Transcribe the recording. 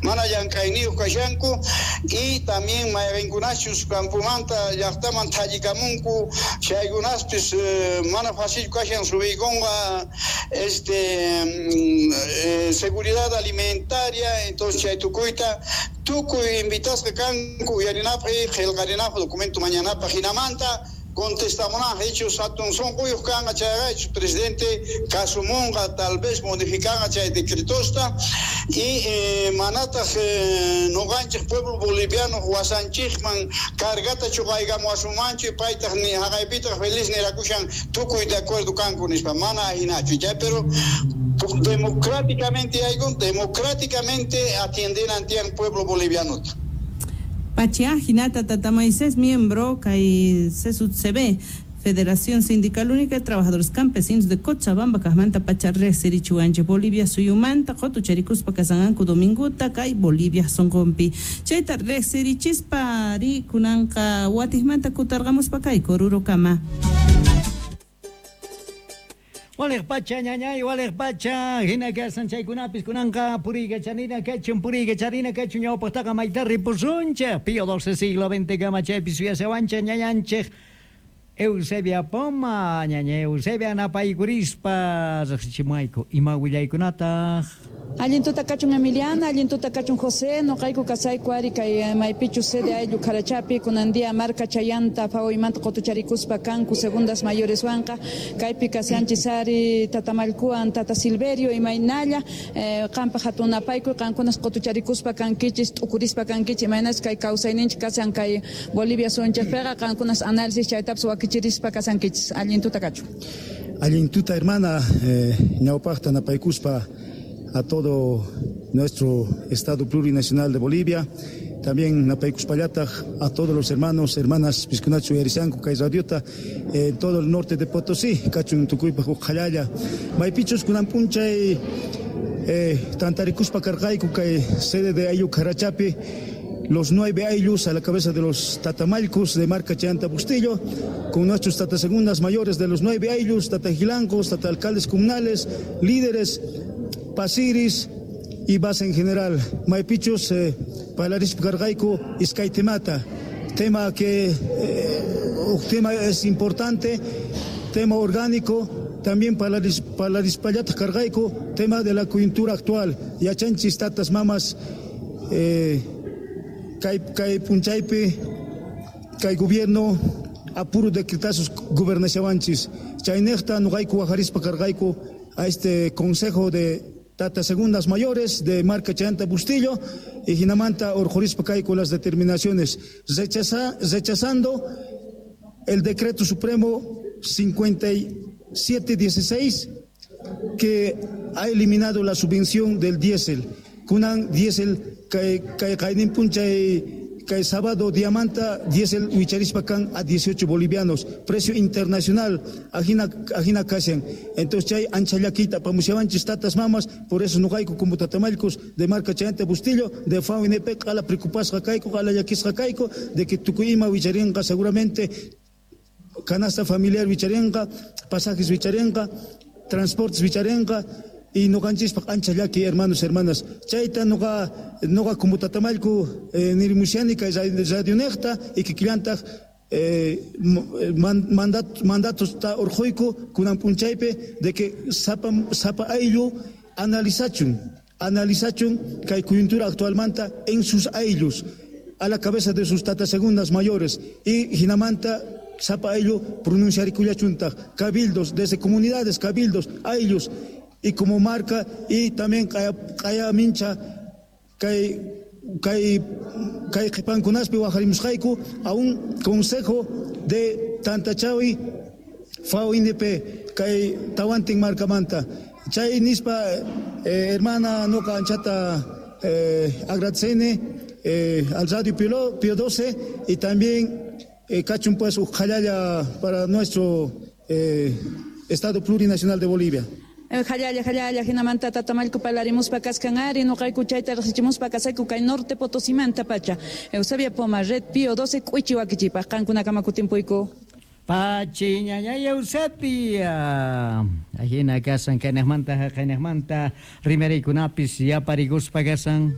Mana llank'ayniyuq kashanku y también mayqinkunachus campomanta llaqtaman thallikamunku chaykunaspis mana fácil kashan subiykunqa seguridad alimentaria. Entonces chay tukuyta tukuy invitasqa kanku uyarinapaq y qillqarinapaq documento mañanapaq hinamanta contestamunaq hechos hatun sunquyuq kanqa chayqa presidente kasumunqa tal vez modificanqa chay decretosta y manataq nuqanchik pueblo boliviano wasanchikman cargata chuqaykamuwasunmanchu paytaq ni haqaypitaq feliz nirakushan tukuy de acuerdo kanku nispa mana ahinachu chay, pero democráticamente yaykun, democráticamente atiendenan tiyan pueblo bolivianota. Pachia hinata Tata Moisés, miembro kay CSUTCB, Federación Sindical Única de Trabajadores Campesinos de Cochabamba, kajmanta pacha riqsirichiwanchik Bolivia suyumanta qutucharikuspa kasanqanku dominguta kay Bolivia sunqunpi. Chayta riqsirichispa ri kunanqa watiqmanta kutarqamuspa kay Orurokama. Waliq pacha ñañay, waliq pacha, hina kasan chaykunapis kunanqa puriykacharina kachun, puriykacharina kachun ñawpaqtaqa mayta ripusunchik, Pío XII siglo XX kama chaypi suyashawanchik ñañanchik Eusebia Poma, ñaña Eusebia napaykurispa riqsichimuwayku ima willaykunataq. Allin tuta kachun Emiliana, allin tuta kachun José, noqayku kasayku ari kay maypichu sede ayllu Karachapi, kunan día marka chayanta FAOymanta qutucharikuspa kanku segundas mayores wanqa, kaypi kashanchis ari Tata Mallkuwan, Tata Silverio imaynalla, qanpaq hatun napaykuy, qankunas qutucharikuspa kankichis, t'ukurispa kankichis, imaynas kay kawsayninchik kashan kay Bolivia suyunchikpiqa, qankunas análisis chaytapas wakichirispa kasankichis. Allin tuta kachun. Allin tuta hermana, ñawpaqta napaykuspa a todo nuestro Estado Plurinacional de Bolivia, también napaykuspallataq a todos los hermanos, hermanas piskunachu uyarishanku kay radiota en todo el norte de Potosí, kachun tukuypaq uqhallalla. Maypichus kunan p'unchay tantarikuspa karqayku kay sede de ayllu Karachapi, los 9 ayllus a la cabeza de los tatamallkus de marca Chayanta Bustillo, con nuestros tatasegundas mayores de los 9 ayllus, tatajilancos, tata alcaldes comunales, líderes, pasiris y base en general. Maypichus parlarispa karqayku iskay temata, tema que tema es importante, tema orgánico, también parlarispallataq karqayku tema de la coyuntura actual. Yachanchis tatas mamas kay kay p'unchaypi kay gobierno a puro decretazos gobernashawanchis. Chaynejta nuqayku wajarispa karqayku a este consejo de tata segundas mayores de marca Chayanta Bustillo y hinamanta urqhurispa kayku las determinaciones rechazando el decreto supremo 5716 que ha eliminado la subvención del diésel. Kunan diésel kay kay qaynin p'unchay kay sábado diamanta diésel wicharispa kan a 18 bolivianos, precio internacional, ajina ajina kashan. Entonces chay ancha llakiyta apamushawanchis tatas mamas, por eso nuqayku como tatamallkus de marca Chayanta Bustillo de FAO-INP q'ala preocupasqa kayku, q'ala llakisqa kayku de que tukuy ima wicharinqa seguramente canasta familiar wicharinqa, pasajes wicharinqa, transportes wicharinqa y nuqanchispaq ancha llaki, hermanos, hermanas. Chayta nuqa nuqa como tatamallku nirimushani kay radionejta y kikillantaq mandatos ta urqhuyku kunan p'unchaypi de que sapa sapa ayllu analizachun analizachun kay coyuntura actualmanta en sus ayllus a la cabeza de sus tatas segundas mayores y hinamanta sapa ayllu pronunciarikullachuntaq cabildos desde comunidades, cabildos, ayllus y como marca y también kaya kaya mincha kay kay kay qhipankunaspi wajarimusqayku a un consejo de Tantachawi FAO INP kay tawantin marcamanta. Chay nispa hermana nuqa anchata agradecene al Radio Pío, Pío 12 y también kachun pues uqhallalla para nuestro Estado Plurinacional de Bolivia. Jallalla, jallalla, hinamanta tatamallku parlarimuspa kaskan ari, nuqayku chayta riqsichimuspa kasayku kay norte Potosimanta pacha. Eusebia Poma, Red Pío 12, k'uichi wakichipaq, qankunakama kutimpuyku. Pachi ñañay Eusebia. Ajina kasan kaynejmanta haqaynejmanta rimariykunapis yaparikuspa kasan.